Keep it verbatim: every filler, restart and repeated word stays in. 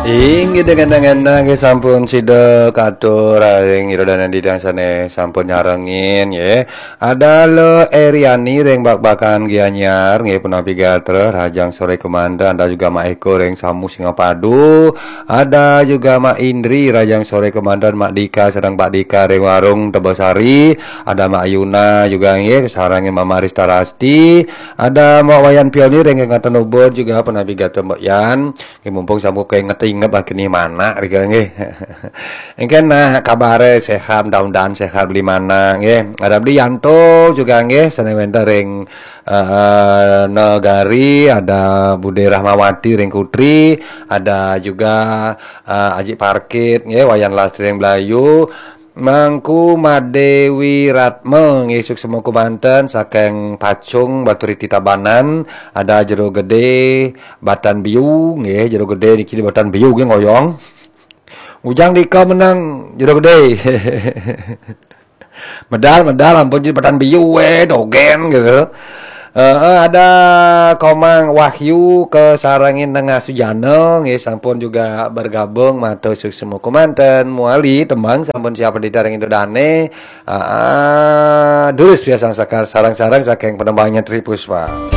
Inggih, dengan nggih sampun sida katur ring ira dané didang sané sampun nyarengin nggih. Ada Le Eriani ring Bakbakan Gianyar nggih, punapi gatra, rahajeng soré kemanten. Ada juga Mak Eko ring Samu Singapadu. Ada juga Mak Indri, rahajeng soré kemanten. Mak Dika sareng Pak Dika ring Warung Tebosari. Ada Mak Yuna juga nggih, sarengin Mama Rista Rasti. Ada Mak Wayan Pioni ring Kecamatan Ubud juga, punapi gatra Mbok Yan. Nggih, mumpung sampun kainget-inget, ah, keni manak rika nggih. Engken nah kabaré sehat, mudah-mudahan sehat Beli Manak nggih. Ada Beli Yanto juga nggih, sané wénten ring, eh, Negari, ada Bude Rahmawati ring Kutri, ada juga, eh, Aji Parkit nggih, Wayan Lastri ring Blayu, Mangku Madewi Ratma nggih, suksma kemanten saking Pacung Baturiti Tabanan, ada Jero Gedé, Batan Biu nggih, Jero Gedé niki di Batan Biu nggih ngoyong. Ujang Dika menang Jero Gedé. Medal, medal, ampun, di Batan Biu wé, dogén gitu. Eh, ada Komang Wahyu kasarengin Nengah Sujana nggih, sampun juga bergabung, matur suksma kemanten. Muali tembang sampun siap ditaring Indo Dané. Ah, durus biasa sakar sareng-sareng saking penembangnya Tri Puspa.